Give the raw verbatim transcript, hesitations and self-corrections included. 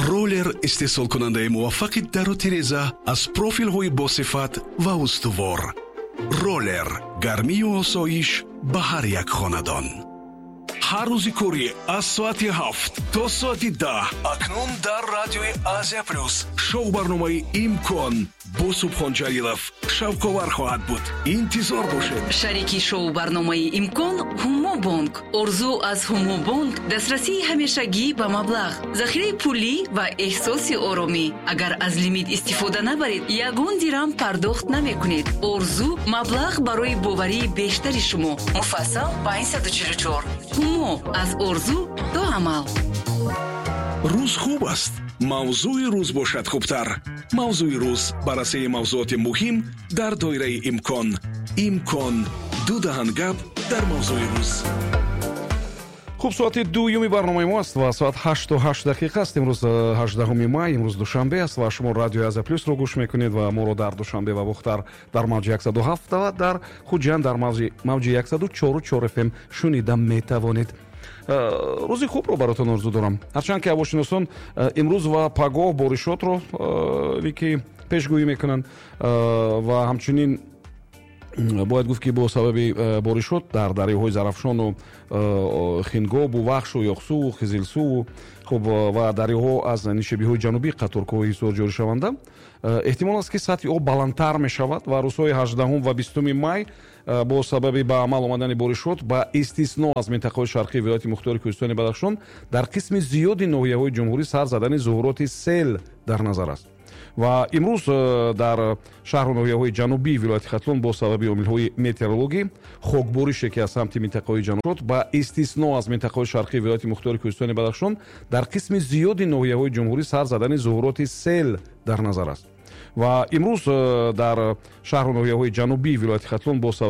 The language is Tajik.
Роллер истеҳсолкунандаи муваффақи дару тиреза аз профилҳои босифат ва устувор. Роллер гармию осоиш ба ҳар як хонадон. Ҳар рӯзи корӣ аз соати ҳафт то соати даҳ акнун дар радиои Азия Плюс шоу-барномаи «Имкон» бо Субҳон Ҷалилов шавқовар хоҳад буд. Интизор бошед. Шарики шоу-барномаи «Имкон» Ҳумобонк. Орзу аз Ҳумобонк дастрасии ҳамешагӣ ба маблағ, захираи пулӣ ва эҳсоси оромӣ. Агар аз лимит истифода набаред, ягон дирам пардохт намекунед. Орзу маблағ барои боварии бештари шумо. Муфассал панҷсаду чилу чор. Ҳумо аз орзу то амал. Рӯз хуб аст, мавзӯи рӯз бошад хубтар. Мавзӯи рӯз: баррасии мавзӯоти муҳим дар доираи имкон. Имкон: ду даҳан гап дар мавзӯи рӯз. Хуб, соати дуюми барномаи мо аст ва соат ҳашту ҳашт дақиқа аст. Имрӯз э, ҳаждаҳуми май, имрӯз душанбе аст ва шумо радиои Азия Плюсро гӯш мекунед ва моро дар Душанбе ва Бохтар дар мавҷи яксаду ҳафт ва дар Хуҷанд дар мавҷи яксаду чору чор F M шунида метавонед. э, рӯзи хубро баротон орзу дорам, ҳарчанд ки ҳавошиносон э, имрӯз ва пагоҳ боришотро ки пешгӯӣ мекунанд. Ва ҳамчунин бояд гуфт, ки бо сабаби э, боришот дар дарёҳои Зарафшону э, Хингобу Вахшу Ёхсуву Хизилсуву, хуб, э, ва дарёҳо аз нишебиҳои ҷанубӣ қаторкӯҳои Ҳисор ҷоришаванда эҳтимол аст, ки сатҳи об баландтар мешавад. Ва рӯзҳои ҳаждаҳум ва бистуми май бо сабаби ба амал омадани боришот, ба истисно аз минтақаҳои шарқии вилояти мухтори Кӯҳистони Бадахшон, дар қисми зиёди ноҳияҳои ҷумҳурӣ сар задани зуҳуроти сел дар назар аст. Ва имрӯз э, дар шаҳру ноҳияҳои ҷанубии вилояти Хатлон бо сабаби омилҳои метеорологӣ хокборише, ки аз самти минтақаҳои ҷануб, ба истисно аз минтақаҳои шарқии вилояти мухтори Кӯҳистони Бадахшон, дар қисми зиёди ноҳияҳои ҷумҳурӣ сар задани зуҳуроти сел дар назар аст. Ва имрӯз э, дар шаҳру ноҳияҳои ҷанубии вилояти Хатлон бо сабаби